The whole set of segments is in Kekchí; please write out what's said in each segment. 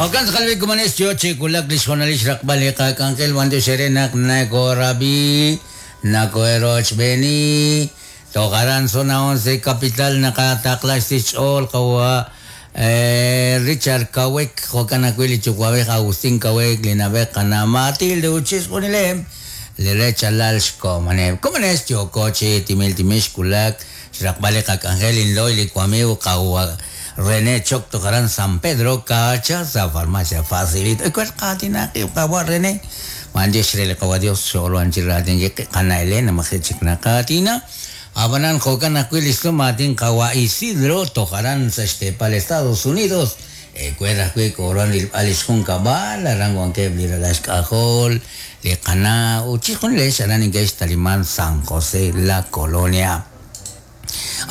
Jo'kan tz'aqal b'i komonex yo chi wulak li xhoonalil xraqb'al li qak'anjel b'anyox eere naq nakoorab'i, nakoerochb'eeni, toj aran Zona 11 Capital naqataqla xsich xch'ool qawa' Richard Kawek, jo'kan ajwi' li yuwa'b'ej Agustín Kawek, li na'b'ej qana' Matilde ut chixjunileb' li rechalal xkomoneb'. Komonex yooko chi timil timil xwulak xraqb'al li qak'anjel inlo'y li wamiiw qawa' René Choc toj aran San Pedro Cacha sa' Farmacia Facilito. Ewer qaatinaq qib' qawa' René. B'anyox re li qawa' Dios xo'ruhan chi raatinkil qib' qana' Elena maji' chik naqaatina. Ab'anan jo'kan ajwi' li xsum aatin qawa' Isidro toj aran sa' xteepal Estados Unidos. Ewer ajwi' kooruhan rilb'al li xjunkab'al, aran wankeb' li ralal xk'ajol, li qana' ut chixjunilex aran neke'xtaliman San José La Colonia.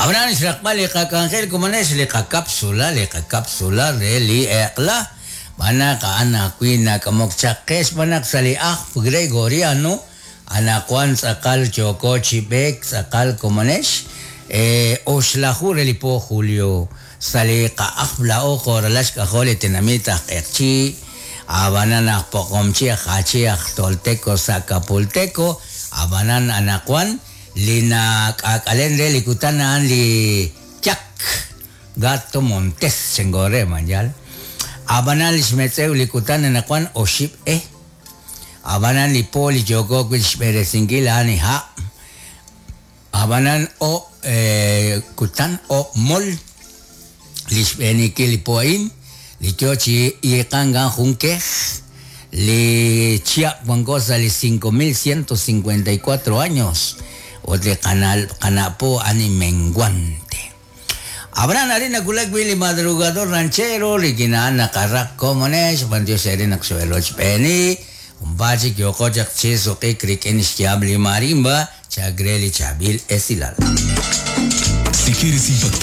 Ab'anan xraqb'al li qak'anjel komonex li qakapsula, li qakapsula re li eq'la, xb'aan naq a'an ajwi' nak'amok chaq qe xb'aan naq sa' li ajl Gregoriano anaqwan tz'aqal yooko chi b'eek tz'aqal komonex oxlaju re li po julio sa' li qa'ajl laa'o jo' ralal xk'ajol li tenamit aj Q'eqchi', ab'anan aj Poqomchi' aj Achi' aj Tolteco sa' Kapulteko, ab'anan anaqwan Li nak'aak'alen re li kutan a'an li yak, Gato Montes, chenko re, ma yaal? A'b'anan li xmetz'ew li kutan anaqwan oxib' e. A'b'anan li po li yooko wi' xb'eresinkil a'an li ha'. A'b'anan o' kutan, o' mol li xb'eenikil li po a'in, li yoo chi iiqank a'an jun kej, li chihab' wanko sa' li 5154 años, ut li qana' po a'an li menguante. Ab'anan arin nawulak wi' li madrugador ranchero rik'in a'an naqaraq komonex, b'antiox eere naq xo'erochb'eeni, junpaat chik yooqo chaq chi suq'ik rik'in xyaab' li marimba, Chak re li chaab'il esilal. Si quieres impactar.